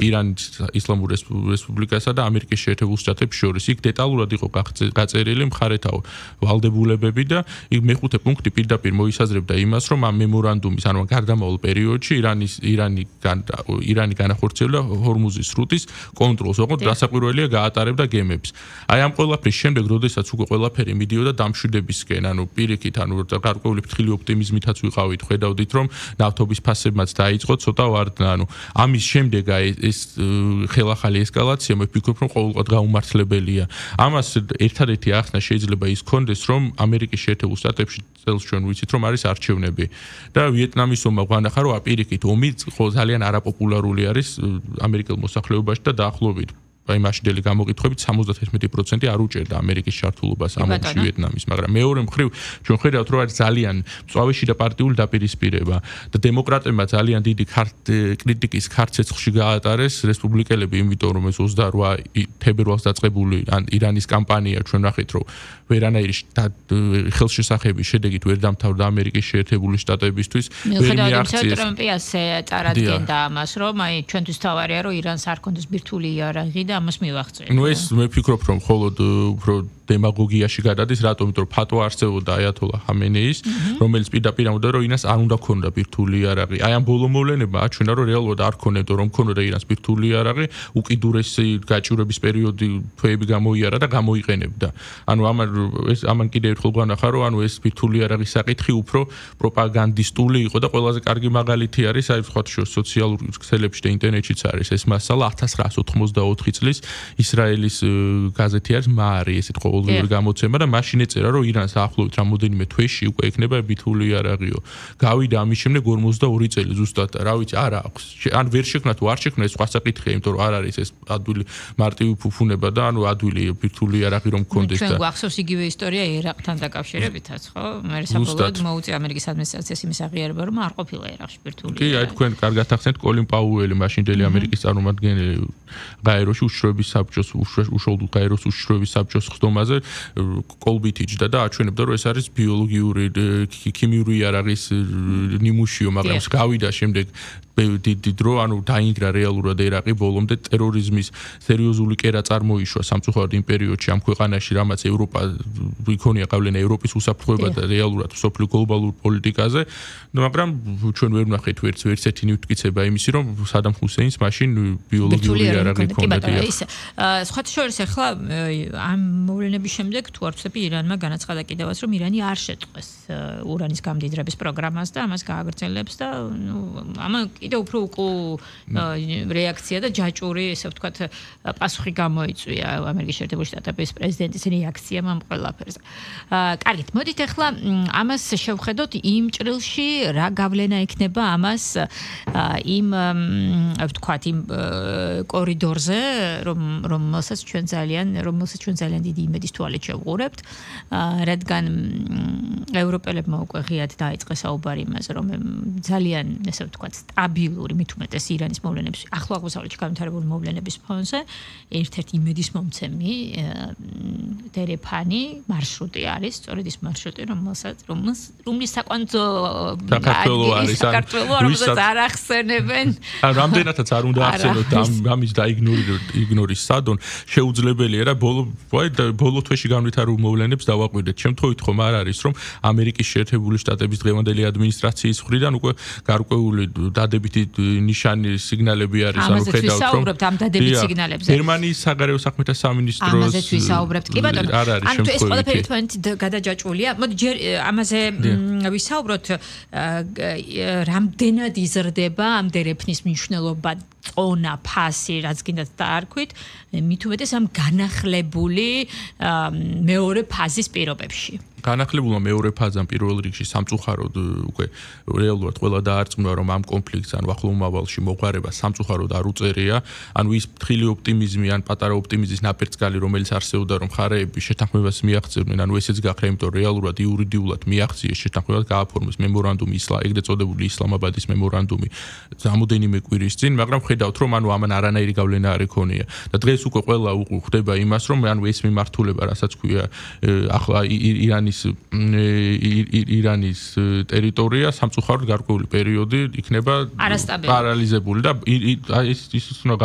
ირანის ისლამურ რესპუბლიკასა და ამერიკის შეერთებულ შტატებს შორის. იქ დეტალურად იყო გაწერილი მხარეთავ ვალდებულებები და იქ მეხუთე პუნქტი პირდაპირ მოისაზრებდა იმას, რომ ამ მემორანდუმის, ანუ გარდამავალ პერიოდში ირანი განახორციელებდა ჰორმუზის სრუტის კონტროლს, ოღონდ დასაკვირველია გაატარებდა გემებს. აი ამ ყველაფრის შემდეგ, როდესაც უკვე ყველაფერი მიდიოდა დამშვიდებისკენ, ანუ პირიქით, ანუ გარკვეული ფრთხილი ოპტიმიზმითაც ვიყავით, ხედავდით, რომ ნავთობის ფასებმაც დაიწყო ცოტა ვარდნა, ანუ ამის შემდეგ ეს ხელახალი ესკალაცია მე ვფიქრობ, რომ ყოველგვარ გაუმართლებელია. ამას ერთადერთი ახსნა შეიძლება ის კონდეს, რომ ამერიკის შეერთებულ შტატებში წელს ჩვენ ვიცით, რომ არის არჩევნები და ვიეტნამის ომმა გვანახა, რომ აპირიქით ომი ძალიან არაპოპულარული არის ამერიკელ მოსახლეობაში და დაახლოებით აი მაშინდელი გამოყითხვებით 71% არ უჭერდა ამერიკის ჩართულობას ამ ომში ვიეტნამის, მაგრამ მეორე მხრივ ჩვენ ხედავთ, რომ არის ძალიან მწვავეში და პარტიული დაპირისპირება და დემოკრატებმა ძალიან დიდი კრიტიკის ქარცეცხლში გაატარეს რესპუბლიკელები, იმიტომ რომ ეს 28 თებერვალს დაწყებული ირანის კამპანია ჩვენ ნახეთ, რომ ვერანაირი ხელშესახების შედეგით ვერ დამთავრდა ამერიკის შეერთებული შტატებისთვის. ვერ მიაღწიეს ტრამპი ასე წარადგენდა ამას, რომ აი ჩვენთვის თავარია, რომ ირანს არ ქონდეს ბირთვული იარაღი და ამას მივახცევთ. ნუ ეს მე ვფიქრობ, რომ მხოლოდ უფრო დემაგოგიაში გადადის, რატომ? იმიტომ რომ ფატვა არსებობდა აიათოლა ხამენეის, რომელიც პირდაპირ ამბობდა, რომ ირანს არ უნდა ქონდა ბირთვული იარაღი. აი ამ ბოლო მოვლენებმა აჩვენა, რომ რეალურად არ ქონებდა, რომ ქონოდა ირანს ბირთვული იარაღი, უკიდურესი გაჭირვების პერიოდი თვეები გამოიარა და გამოიყენებდა. ანუ ამან კიდევ ერთხელ გვანახა, რომ ანუ ეს ბირთვული იარაღის საკითხი უფრო პროპაგანდისტული იყო და ყველაზე კარგი მაგალითი არის აი სხვა სოციალურ ქსელებში და ინტერნეტშიც არის ეს მასალა 1984 წლის ისრაელის გაზეთი არის მაარი, ესეთ ყოველდღიური გამოცემა და მაშინ ეწერა, რომ ირანს ახლობით რამოდენიმე თვეში უკვე ექნება ბირთვული იარაღიო. გავიდა ამის შემდეგ 42 წელი ზუსტად, რა ვიცი, არა აქვს. ან ვერ შექმნა თუ არ შექმნა ეს სხვა საკითხია, იმიტომ რომ არ არის ეს ადვილი მარტივი ფუფუნება და ანუ ადვილი ბირთვული იარაღი რომ გქონდეს და გვახსოვს იგივე ისტორია ერაყთან დაკავშირებითაც, ხო? მე საბოლოოდ მოუწია ამერიკის ადმინისტრაციას იმის აღიარება, რომ არ ყოფილა ერაყში ბირთვული იარაღი. კი, აი თქვენ კარგად ახსენეთ კოლინ პაუელი, მაშინდელი ამერიკის წარმომადგენელი გაეროში უშიშროების საბჭოს უშუალოდ გაეროს უშიშროების საბჭოს ხდომაზე კოლბით იჯდა და აჩვენებდა, რომ ეს არის ბიოლოგიური ქიმიური იარაღის ნიმუშიო, მაგრამ გავიდა შემდეგ დიდი დრო, ანუ დაინგრა რეალურად ერაყი ბოლომდე ტერორიზმის სერიოზული კერა წარმოიშვა სამწუხაროდ იმ პერიოდში ამ ქვეყანაში, რამაც ევროპა იქონია გავლენა ევროპის უსაფრთხოება და რეალურად სოფლიო გლობალურ პოლიტიკაზე, მაგრამ ჩვენ ვერ ვნახეთ ვერც ერთი მტკიცება იმისი, რომ სადამ ჰუსეინს მაშინ ბიოლოგიური იარაღი ჰქონდა. სხვათა შორის ახლა ამ მოვლენების შემდეგ თუ არ ვცდები, ირანმა განაცხადა კიდევაც, რომ ირანი არ შეწყვეს ურანის გამდიდრების პროგრამას და ამას გააგრძელებს და ამან კიდევ უფრო რეაქცია და ჯაჭვური, ესე ვთქვათ, პასუხი გამოიწვია ამერიკის შეერთებული შტატების პრეზიდენტის რეაქციამ ამ ყველაფერზე. კარგით, მოდით ახლა ამას შევხედოთ იმ ჭრილში, რა გავლენა ექნება ამას იმ ვთქვათ, იმ კორიდორზე, რომელსაც ჩვენ ძალიან დიდი იმედის თვალით შევყურებთ, რადგან ევროპელებმა უკვე ღიად დაიწყეს საუბარი იმაზე, რომ ძალიან, ესე ვთქვათ, სტაბილური, მით უმეტეს ირანის მოვლენების, ახლო აღმოსავლეთში განვითარებული მოვლენების ფონზე ერთ-ერთი იმედის მომცემი დერეფანი მარშრუტი არის, სწორედ ის მარშრუტი, რომლის საკვანძო საქართველო რომელსაც არ ახსენებენ. რამდენადაც არ უნდა ახსენოთ ამის დაიგნორის სადონ, შეუძლებელია რა ბოლო თვეში განვითარებულ მოვლენებს დავაკვირდეთ. შემთხვევით ხომ არ არის, რომ ამერიკის შეერთებული შტატების დღევანდელი ადმინისტრაციის მხრიდან უკვე გარკვეული დადებითი ნიშანი სიგნალები არის, ანუ ხედავთ, რომ ვისაუბრებთ ამ დადებით სიგნალებზე. გერმანიის საგარეო საქმეთა სამინისტროს ამაზეც ვისაუბრებთ. კი ბატონო, ანუ ეს ყველაფერი თქვენით გადაჯაჭვულია. მოდი ჯერ ამაზე ვისაუბროთ, რამდენად იზრდება ამ დერეფნის მნიშვნელობა, წონა, ფასი, რაც გინდათ დაარქვით, მით უმეტეს ამ განახლებული მეორე ფაზის პირობებში. განახლებულმა მეორე ფაზამ პირველ რიგში სამწუხაროდ უკვე რეალურად ყველა დაარწმუნა, რომ ამ კონფლიქტს ან ახლო მომავალში მოღვარება სამწუხაროდ არ უწერია, ანუ ის ფრთხილი ოპტიმიზმი ან პატარა ოპტიმიზმის ნაპერწკალი, რომელიც არსებობდა, რომ მხარეები შეთანხმებას მიაღწევდნენ, ანუ ესეც გახდა, იმიტომ რეალურად იურიდიულად მიაღწიეს შეთანხმებას, გააფორმეს მემორანდუმი, ეგრეთ წოდებული ისლამაბადის მემორანდუმი რამოდენიმე კვირის წინ, მაგრამ ხედავთ, რომ ანუ ამან არანაირი გავლენა არ ექონია. და დღეს უკვე ყველა ხვდება იმას, რომ ანუ ეს მიმართულება, რასაც ქვია ახლა ირანის ტერიტორია სამწუხაროდ გარკვეული პერიოდი იქნება პარალიზებული და ის უნდა